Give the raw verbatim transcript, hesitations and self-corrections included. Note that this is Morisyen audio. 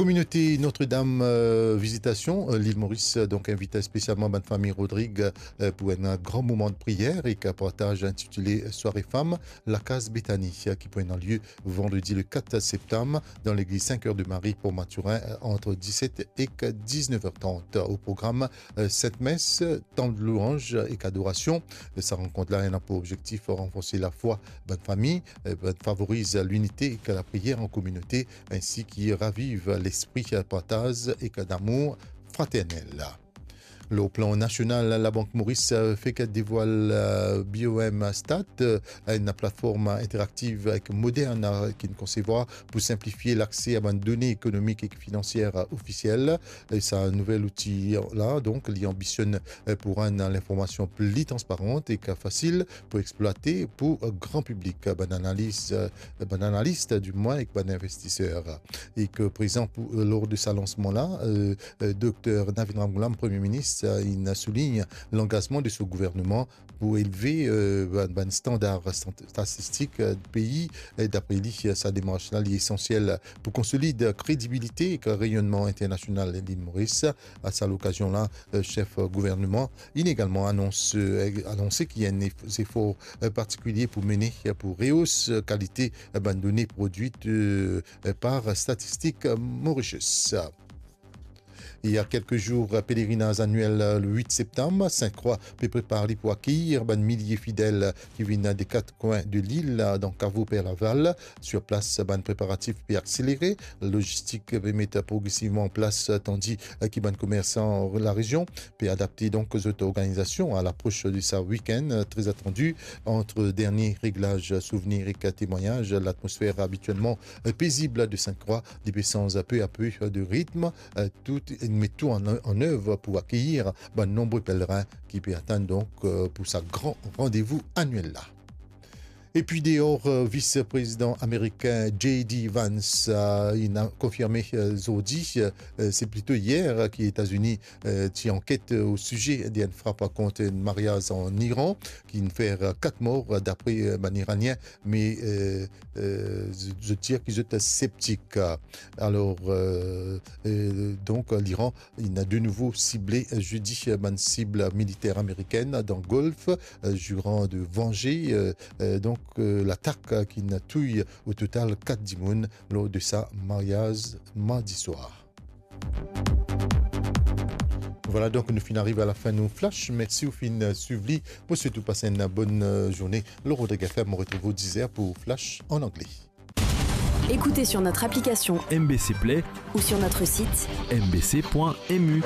Kominote Notre-Dame, euh, Visitation, euh, Lil Moris, euh, donk invit spesialman bann fami Rodrig, euh, pou enn gran moman de priyer ek partaz intitile Soirée Femmes, Lakaz Betani, euh, ki pou ena lie vandredi le kat septam dan legliz Saint-Cœur de Marie Port Mathurin, euh, ant diset ek diznef er trant. O program, euh, Sint Mes, tan de louanz ek adorasion. Euh, sa rankont la ena pou objektif ranforse lafwa bann fami, euh, favoriz linite ek lapriyer an kominote, ensi ki raviv lespri partaz ek damour fraternel. Lor plan nasional, Labank Moris, euh, fek devwal, euh, B O M Stat, euh, enn platform interaktiv ek modern, euh, ki'nn konsevwar pou sinplifie lakse a bann done ekonomik ek finansier, euh, ofisiel. E sa nouvel outi la, donk, li anbisionn, euh, pou rann linformasion pli transparan ek fasil pou eksplwate pou, euh, gran piblik, bann analiz, euh, bann analis, dimwin, ek bann investiser. Ek prezan pou, euh, lor de sa lansman la, euh, euh, Dokter Navin Ramgoolam, Premie Minis, euh, inn soulign langazman de so gouvernman pou elve, euh, bann, bann standar stat-, statistik, euh, pei. E dapre li, euh, sa demars la, li esansiel pou konsolid kredibilite ek reyonnman internasional Lil Moris. A sa lokazion la, euh, sef gouvernman inn egalman anons, euh, anonse ki ena zefor, euh, partikilie pou mene, euh, pou rehos, euh, kalite, euh, bann done prodwit, euh, euh, par Statistik Mauritius. Il y a quelques jours, pelerinaz aniel, euh, le wit septam, Sint Krwa pe prepar li pou akeyir bann milie fidel ki vinn de kat kwin de lil, euh, dan kavo Perlaval. Sur plas, bann preparatif pe akselere, lozistik pe met progresivman an plas, tandi, euh, ki bann komersan larezion pe adapte donk zot organizasion a lapros de sa wikenn, euh, tre atandi. Ant dernie reglaz souvenir ek temwagnaz, latmosfer abitielman, euh, pezib de Sint Krwa, li pe sanz pe a pe, euh, de ritm, euh, tou, met tou an, an ev pou akeyir bann nonbre pelerin ki pe atann donk, euh, pou sa gran randevou aniel la. Epi deor, euh, vis-prezidan amerikin J D Vance, euh, inn konfirme, euh, zordi, euh, se plito yer, euh, ki Etazini, euh, ti anket, euh, o size de enn frap kont enn maryaz an Iran, ki'nn fer, euh, kat mor, euh, dapre, euh, bann Iranien, me, euh, euh, zot, zot dir ki zot septik. Alor, euh, euh, donk, Liran inn de nouvo sible, euh, zedi, euh, bann sib militer amerikenn dan Golf, euh, zirant de vanze, euh, euh, donk, euh, latak, euh, ki'nn touy o total kat dimoun lor de sa maryaz mardi swar. Vwala, donk nou finn ariv a lafin nou flash. Mersi ou finn, euh, swiv li. Mo swet ou pas enn bonn, euh, zourne. Lor Rodrig F M, mo retrouv ou diz er pou flash an angle. Écoutez sur notre application M B C Play ou sur notre site M B C point M U.